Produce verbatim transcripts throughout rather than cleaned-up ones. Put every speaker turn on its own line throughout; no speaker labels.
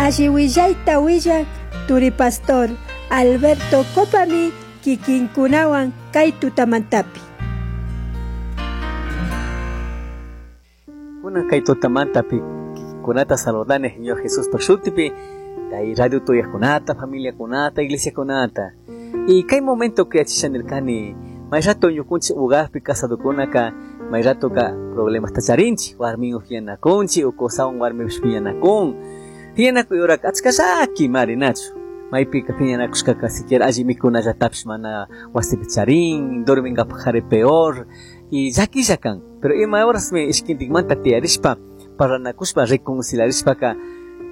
Alli willayta willak turipastor Alberto Copami kikinkunawan kay tutamantapi.
Kunan kay tutamantapi kikinkunata saludani Señor Jesús shutipi, kay radio tuyakunata, familia kunata, iglesia kunata. Y kay momento que achishanirkani, may rato ñukunchik hogarpi casadokunaka, may rato ka problemas tacharinchik, warmin upianakunchik, o qosawan warmipish piñanakun. Piñanakuy uraka achka llaki mari nachu. Maypika piñanakushkaka siquiera alli mikunallatapish mana wasipi charin, dorminkapaj jari peor, y llakilla kan. Pero ima horasmi ishkintikmanta tiyarishpa, parlanakushpa, reconciliarishpaka,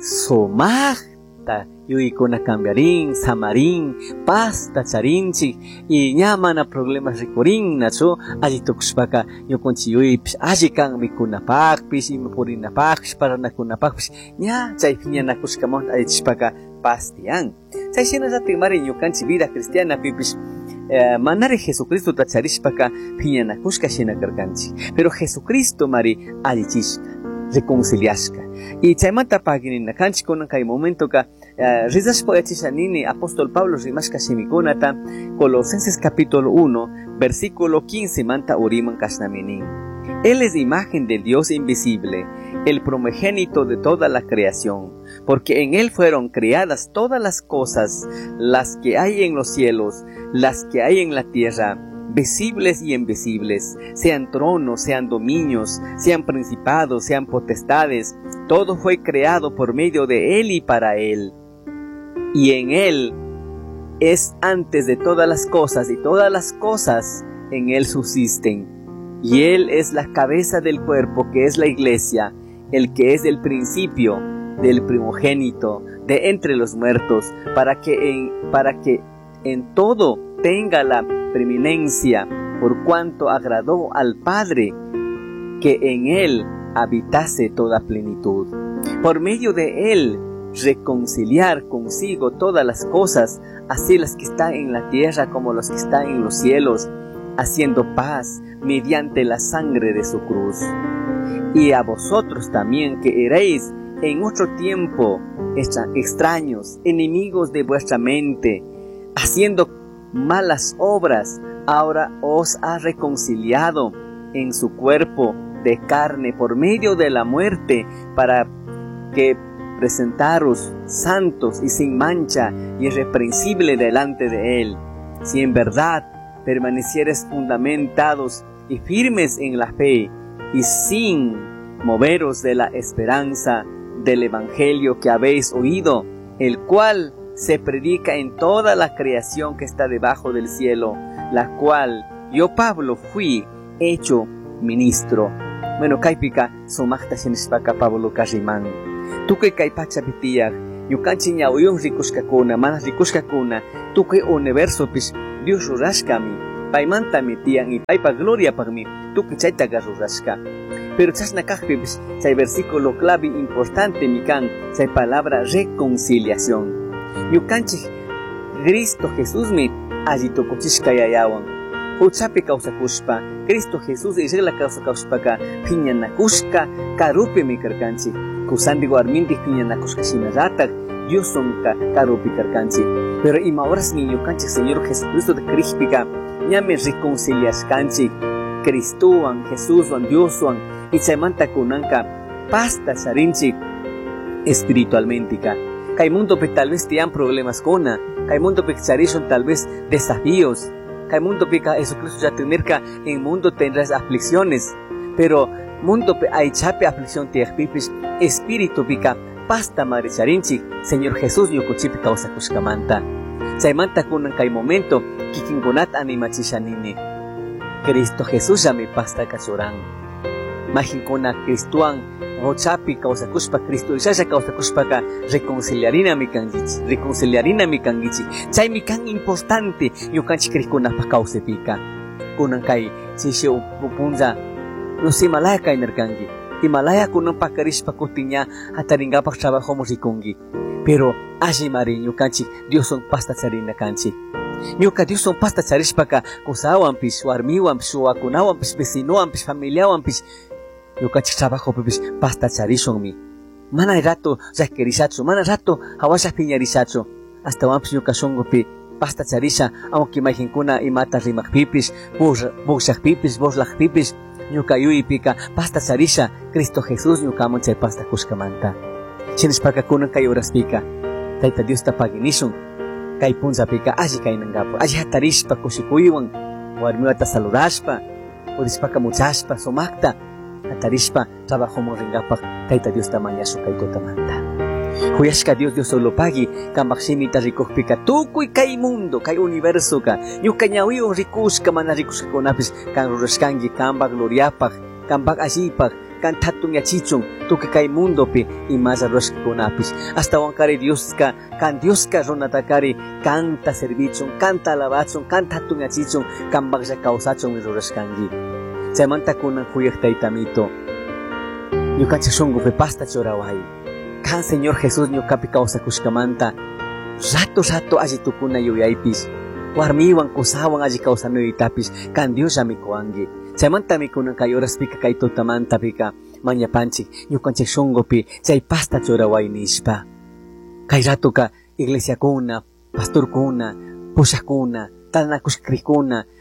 sumaqta yuyaykuna cambiarin, samarin, pazta charinchik, y ña mana problemas rikurin, nachu, alli tukushpaka ñukunchik yuyaypish alli kan mikunapaqpish, ima purinapaqpish, parlanakunapaqpish, ña chay piñanakushkamanta allichishpaka paz tiyan. Chay shinallatik mari ñukanchik vida cristiana pipish, eh, manari Jesucristo tacharishpaka piñanakushka shina karkanchik. Pero Jesucristo mari allichishka, reconciliashka. Y chaymanta pagininakanchik kunan kay momentoka, eh, rizashpa yachishanini apóstol Pablo rimashka shimikunata, Colosenses capítulo uno, versículo quince manta uriman kashnaminin. Él es imagen del Dios invisible, el primogénito de toda la creación, porque en Él fueron creadas todas las cosas, las que hay en los cielos, las que hay en la tierra, visibles y invisibles, sean tronos, sean dominios, sean principados, sean potestades, todo fue creado por medio de Él y para Él. Y en Él es antes de todas las cosas, y todas las cosas en Él subsisten. Y Él es la cabeza del cuerpo, que es la iglesia, el que es el principio del primogénito de entre los muertos, para que en, para que en todo tenga la preeminencia, por cuanto agradó al Padre que en Él habitase toda plenitud. Por medio de Él reconciliar consigo todas las cosas, así las que están en la tierra como las que están en los cielos, haciendo paz mediante la sangre de su cruz. Y a vosotros también, que eréis en otro tiempo extra-, extraños, enemigos de vuestra mente, haciendo malas obras, ahora os ha reconciliado en su cuerpo de carne por medio de la muerte, para que presentaros santos y sin mancha y irreprensible delante de Él. Si en verdad permanecieres fundamentados y firmes en la fe, y sin moveros de la esperanza del Evangelio que habéis oído, el cual se predica en toda la creación que está debajo del cielo, la cual yo, Pablo, fui hecho ministro. Bueno, kaypika sumaqta shinishpaka Pablo karriman. Tukuy kay pachapi tiyaq, ñukanchik ñawiyuq rikushkakuna, mana rikushkakuna, tukuy universopish Dios rurashkami, paymantami tiyan y paypa gloriapaqmi tukuy chaytaqa rurashka. Pero chashna kaqpipish chay versículo clave importante mi kan, chay palabra reconciliación. Ñukanchik Cristo Jesusmi alli tukuchishka yayawan. Huchapi kawsakushpa, Cristo Jesús irla kawsakushpaka phiñanakushka karupimi karkanchik. Kusanti warminti phiñanakushka shinallatak Dioswanka karupi karkanchik. Pero ima horasmi ñukanchik Señor Jesucristo de Crispika ñami reconciliashkanchik Cristowan, Jesuswan, Dioswan, y chaymanta kunanka pasta charinchik espiritualmentika. Kay mundopi tal vez tiyan problemas kuna, kay mundopi charishun tal vez desafíos, kay mundopi ka Jesucristo ya tenerka en mundo tendrás aflicciones, pero mundopi aychapi aflicción tiyaqpipis espíritu pika pasta maricharinchik Señor Jesús ñukuchipi kawsakushkamanta. Chaymanta kunan kay momento kikinkunata animachishanini. Cristo Jesús llami pasta kachuran. Majinkuna Cristowan huchapi kawsakushpa, Cristo ishalla kawsakushpaka reconciliarinami kankichik, reconciliarinami kankichik. Chaymi kan importante ñukanchik kriqkunapaq kawsaypika. Kunan kay chishi upunlla no sé, Himalaya kaynirkanki. Himalaya kunan pakarishpa kutin ña hatarinkapak trabajomun rikunki. Pero allimari ñukanchik Dioswan pasta charina kanchik. Ñuka Dioswan pasta charishpaka kusawanpish, warmiwanpish, wawakunawanpish, vecinowanpish, familiawanpish, ñukanchik trabajopipish pasta charishunmi. Mana rato llaquirishachu, mana rato hawasha piñarishachu. Astawanpish ñuka shunkupi pasta charisha, aunque mayqinkuna imata rimaqpipis, bushaqpipis, burlaqpipis, ñuka yuypika pasta charisha, Cristo Jesús ñukaman chay pasta kushkamanta. Shinashpaka kunan kay horaspika, Tayta Diosta paginishun, kay punllapika alli kaynankapaq, alli hatarishpa kushikuywan, warmiwata saludashpa, purishpaka muchashpa, sumakta, hatarishpa trabajoman rinkapaq, Tayta Diosta mañashun kay tutamanta. Huyashka Dios Dios solo pagui, kambaq shimita rikukpika tukuy kay mundo, kay universoka, ñuka ñawiwan rikushka mana rikushkakunapis kan rurashkanki kambaq gloriapaq, kambaq allipaq, kan hatun yachichun tukuy kay mundopi imalla rurashkakunapis. Ashtawankari Dioska, kan Dioska runatakari kanta servichun, kanta alabachun, kanta hatun yachichun, kambaqlla kawsachun rurashkanki. Chaymanta kunan huyaq taytamito, ñukanchik shunkupi pasta churaway. Kan Señor Jesús ñukapi kawsakushkamanta, rato rato alli tukuna yuyaypis, warmiwan kusawan alli kawsanuytapis, kan Diosllami kuwanki. Chaymantami kunan kay horaspika kay tutamantapika mañapanchik ñukanchik shunkupi chay pasta churaway nishpa. Kay ratuka iglesiakuna, pastorkuna, pushakuna, tantanakushka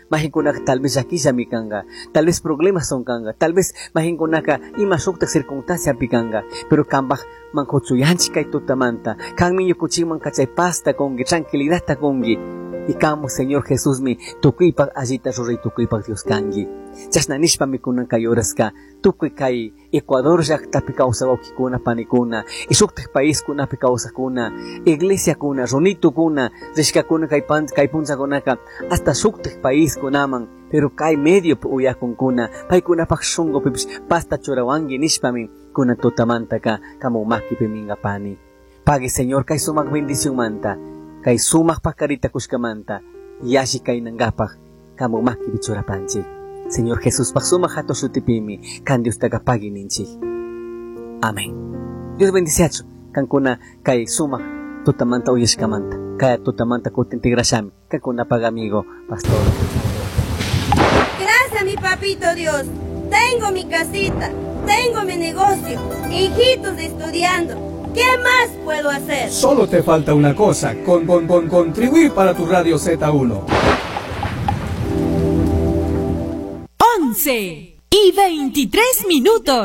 mayqinkunaka tal vez llakillami kanka, tal vez problemas son kanka, tal vez mayqinkunaka ima shuktak circunstanciapi kanka, pero kanpaj mankuchuyanchik kay tutamanta, kanmi ñukunchikmanka chay pasta kunki, tranquilidadta kunki, y kanmu Señor Jesusmi tukuypaq allita ruray tukuypaq Dios kanki. Chashna nishpami kunan kay horaska tukuy kay Ecuador llaqtapi kawsaq wawqikuna panikuna, y shuktak paiskunapi kawsaqkuna, iglesiakuna, runitukuna, rishkakuna kay pan kay punllakunaka hasta shuktak paiskunaman, pero kay mediopi uyakunkuna, paykunapaq shunkupipish pasta churawanki nishpami kunan tutamantaka kamu makipi minkapani. Pagui Señor kay sumaq bendicionmanta, kay sumaq pakarita kushkamanta, yalli kaynankapaq kamu makipi churapanchik. Señor Jesús paq sumaq hatun shutipimi kan Diostaqa pagui ninchik. Amén. Dios bendiciachu kankuna kay sumaq tutamanta uyashkamanta, kay tutamanta kutin tigrashami, kankunapaq amigo pastor.
Gracias mi papito Dios, tengo mi casita, tengo mi negocio, hijitos estudiando. ¿Qué más puedo hacer?
Solo te falta una cosa, con, con, con contribuir para tu Radio Z uno.
once y veintitrés minutos.